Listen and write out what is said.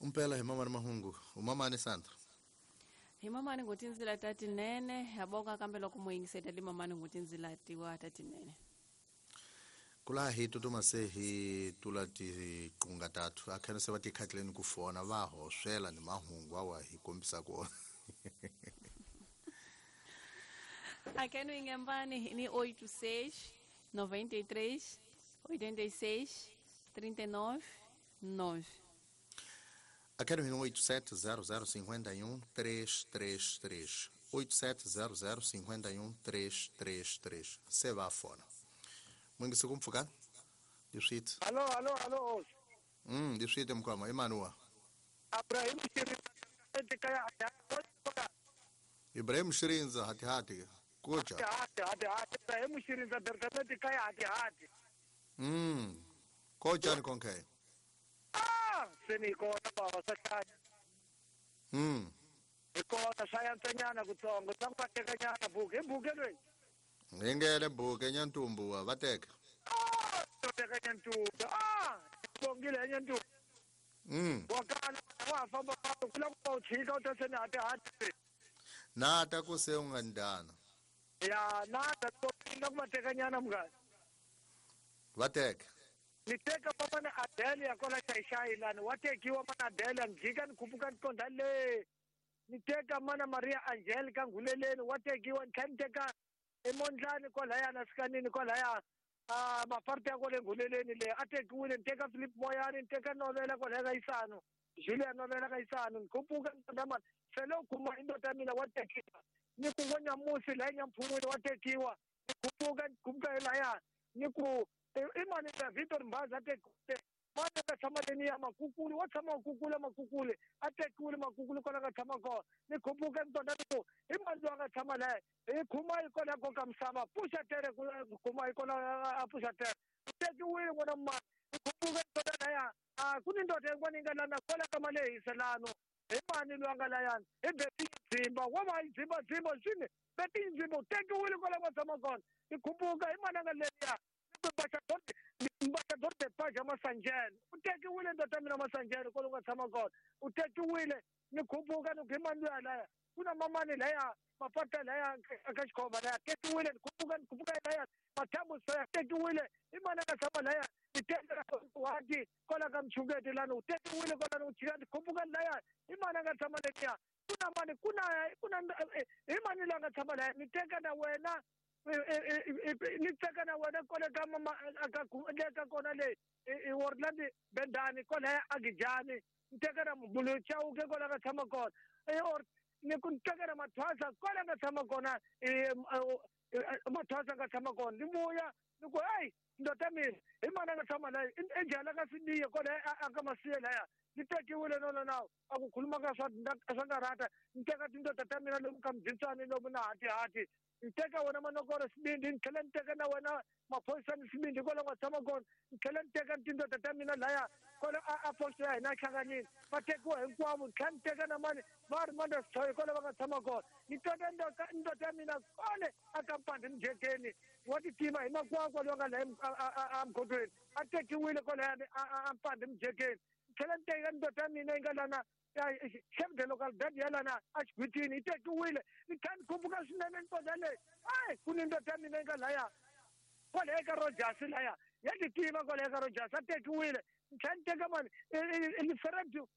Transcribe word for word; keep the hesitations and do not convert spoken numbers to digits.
Umpela hi mamani mahungu umamani Sandra. Hi mamani ngutinzila tatinene yaboka kambe loko muyingiseta li mamani ngutinzila tiwa tatinene. Kula hi tutuma se hi tula tiqunga tatu akhena se va tikhatleni ku fona va hoswela ni mahungu awa hi kombisa ku Akheno ingembani ni oito seis noventa e três oitenta e seis trinta e nove nove. Akheno hi oito sete zero zero cinquenta e um três três três oito sete zero zero cinquenta e um três três três se va fona. Mwingisi kumpfuka diswit. Allo allo allo. Mm diswit mkwama Emmanuel. Ibrahim Shirinza kaya. Ibrahim Shirinza hati hati. Kocha. Hati hati hati Ibrahim Shirinza berkameti kaya hati hati. Mm. Kocha ni konke. Ah, seni kona baba sakaya. Mm. Ikona sayansa nyana kutsongo tsangwa nyana buke buke lwe. Ngengele buke nyantumbu vateka. Ah, teka nyantumbu. Ah, bongile nyantumbu. Mm. Wakala wa famba kula ku chika utasena hati hati. Na ta ku se ungandana. Ya na ta to inga kumateka nyana mngani. Vateka. Niteka papa na Adelia kola shaishai lani watekiwa mana Adelia njika nikupuka nkonda le. Niteka mana Maria Angelica nguleleni watekiwa niteka emondlani kwalaya nasikanini kwalaya ah maparte ya kole nguleleni le atekiwile niteka Philip Moyani niteka Novela kwalaya kaisano Julia Novela kaisano nikupuka nkonda sele kuma indoda mina watekiwa nikuvonya musi la nyamphumule watekiwa nikupuka nikupuka elaya niku imani ya Victor Mbaza atekiwe mane ka tshama leni ya makukule wa tshama makukule makukule atekiwile makukule kona ka tshama kona nikupuka nkonda niku imani wa ka tshama la hi khuma yi kona koka misava puxa tere khuma yi kona a puxa tere tekiwile n'wana mani nikupuka nkonda laya a ku ni ndoda yin'wana yi nga lana kwala ka malehiselano hi mani loyi a nga layani hi Beti Dzimba wa va yi dzimba dzimba swini Beti Dzimba u tekiwile kwala ka tshama kona nikupuka hi mani a nga leriya Mbachador de Paja Masanjele u tekiwile ndoda mina Masanjele kwala nga tshama kona u tekiwile nikupuka ni hi mani loyi laya ku na mamani laya mapata laya ka xikhova laya tekiwile nikupuka nikupuka laya mathambu soya tekiwile hi mani a nga tshama laya wati kwala ka mchungeti lani u tekiwile kwala ni chika nikupuka laya hi mani a nga tshama leniya ku na mani ku na ku na hi mani loyi a nga tshama laya ni teka na wena ni teka na wena kwale ka mama ka ka kona le i Worland Bendani kwala Agijani ni teka na Mbulu Chauke kwala ka tshama kona or ni ku teka na Mathwasa kwala ka tshama kona Mathwasa ka tshama kona ni vuya ni ku hey ndoda mina hi mani a nga tshama laya enjala ka Sidiye kwala aka Masiye laya ni tekiwile no no no a ku khuluma ka swa swa nkarata ni teka tindoda ta mina lomu ka mdzitsani lomu na hati hati niteka wena manokoro sibindi ni tlhela ni teka na wena maphorisa ni sibindi kwala nga tshama kona ni tlhela ni teka tindoda ta mina laya kwala a posto ya hina hlanganini va tekiwa hinkwavo ni tlhela ni teka na mani va ri manda sithoyi kwala va nga tshama kona ni teka ndoda ya mina kwale a kampandi mjekeni wa titima hi makwakwa loyi nga laya emgodweni a tekiwile kwalayani a mpandi mjekeni ni tlhela ni teka ndoda ya mina yi nga lana chef de localidade ya lana a xigwitini yi tekiwile ni kha ni khumbuka swinene ntoda leyi ayi ku ni ndoda ya mina yi nga laya kwalaya ka Rogers laya ya ti tiva kwalaya ka Rogers a tekiwile ni tlhela ni teka mani Liferedu